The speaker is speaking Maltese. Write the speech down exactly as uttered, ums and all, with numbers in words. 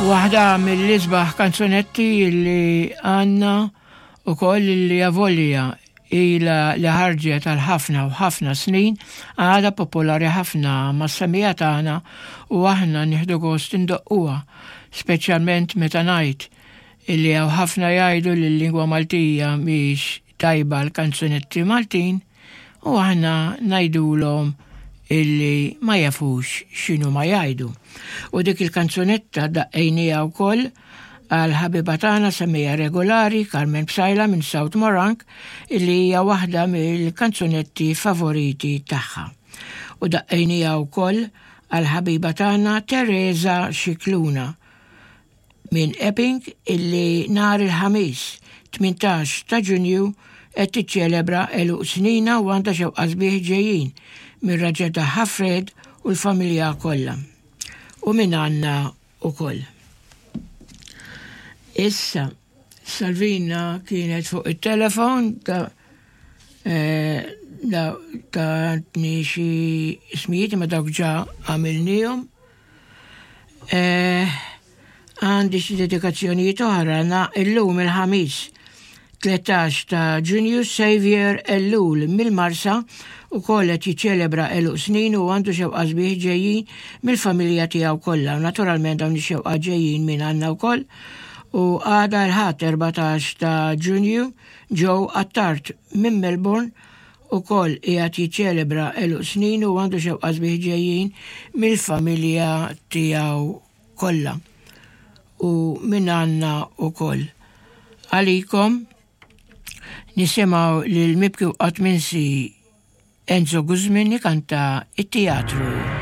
Waħda mill-isbaħ kanzunetti li għandna u koll li avolja ila li ħarġet għal ħafna u ħafna snin, għadha popolari ħafna mas-semmiegħa tagħna u aħna nieħdu gost indoqquha, speċjalment meta ngħid illi hawn ħafna jgħidu li l-lingwa Maltija mhix tajba l-kanzunetti Maltin u aħna ngħidulhom illi ma jafux x'inhu ma jgħidu. U dik il-kanzunetta daqqejnieha wkoll għal ħabiba tagħna semmiegħa regolari Carmen Psaila minn South Morang, illi hija waħda mill-kanzunetti favoriti tagħha. U daqqejnieha wkoll għal ħabiba tagħna Teresa Xikluna minn Epping, illi nhar il-Ħamis tmintax ta' Ġunju qed tiċċelebra għeluq sninha u għandha xewqa sbieħ ġejjin mir-raġel tagħha Fred u l-familja kollha. U minn għandna ukoll. Issa, Salvina kienet fuq il-telefon ta' eh, da tatni xi ismijiet, ma dawk ġa għamilnihom. Eh, Għandi xi dedikazzjonijiet oħra na illum il-Ħamis tlettax ta' Ġunju, Xavier Ellul mill-Marsa u kollet jiċċelebra għeluq snin u għandu xewqa sbieħ ġejjin mill-familja tiegħu kollha. U naturalment dawn ix-xewqa ġejjin minn għandna wkoll. U għada l-Ħadd erbatax ta' Ġunju, Joe Attard minn Melbourne u koll qiegħed jiċċelebra għeluq snin u għandu xewqa sbieħ ġejjin mill-familja tiegħu kollha. U minn għandna ukoll. Għalikom nisimgħu lil mibki u qatt minsi Enzo Guzmin jikanta It-Teatru.